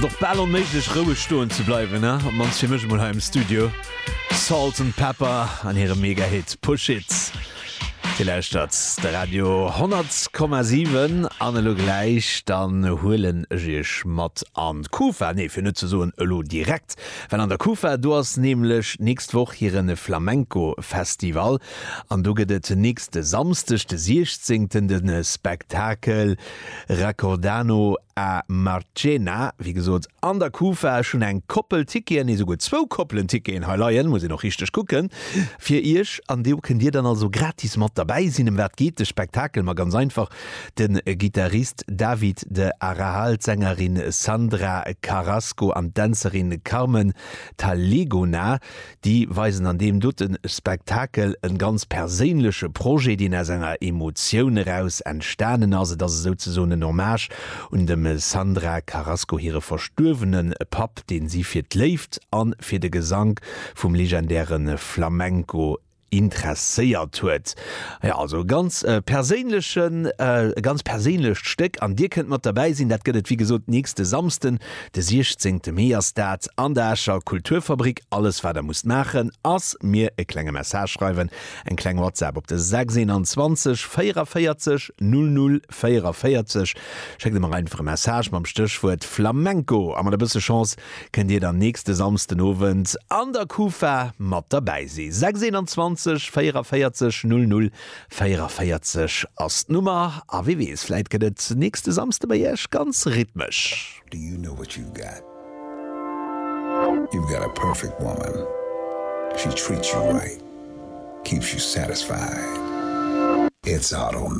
Ass et och bal onméiglech roueg stoen ze bleiwen, ne? Op mannst fir mech emol hei am Studio. Salt-N-Pepa an hirem Mega-Hit Push It. Dir lauschtert de Radio 100,7 an elo gläich dann huelen ech iech mat an d'Kufa, nee fir net ze soen elo direkt, well an der Kufa do ass nämlech d'nächst Woch hiren Flamenco Festival an do gëtt et nächste Samsdeg de 16 de Spektakel Racordano a Marchena, wéi gesot an der Kufa. Ech hunn eng Koppel Ticketen, nee souguer zwou Koppelen Ticketen hei leien, muss een och richteg kucken, fir iech. An do kënnt dir dann also gratis mat derbäi sinn. Ëm wat geet de Spektakel? Ma ganz einfach, de Gittarist David de Arahal, d'Sängerin Sandra Carrasco an d'Dänzerin Carmen Talegona, Déi weisen an deem dote Spektakel en ganz perséinleche Projet, deen aus enger Emotioun eraus entstanen ass. Et ass esouzesoen en Hommage un dem Sandra Carrasco hire verstuerwene Papp, deen si fir d'Léift a fir de Gesank vum legendäre Flamenco interesséiert huet. Jo, also e ganz perséinlechen, e ganz perséinlecht Stéck an Dir kënnt mat derbäi sinn. Dat gëtt et wéi gesot nächste Samsden, de 16 Mee ass dat an der Escher Kulturfabrik. Alles wat der musst maachen ass mir e klenge Message schreiwen, eng kleng WhatsApp op de 6 21 44 00 44. Schéckt mer einfach e Message mam Stéchwuert Flamenco a mat e bësse Chance kënnt Dir dann nächste Samsden Owend an der Kufa mat derbäi si. 6 21 44 00 44 ass d'Nummer a wie weess, vläit gëtt et nächste Samsde bei Iech ganz rhythmesch. Do you know what you've got? You've got a perfect woman. She treats you right, keeps you satisfied. It's auto.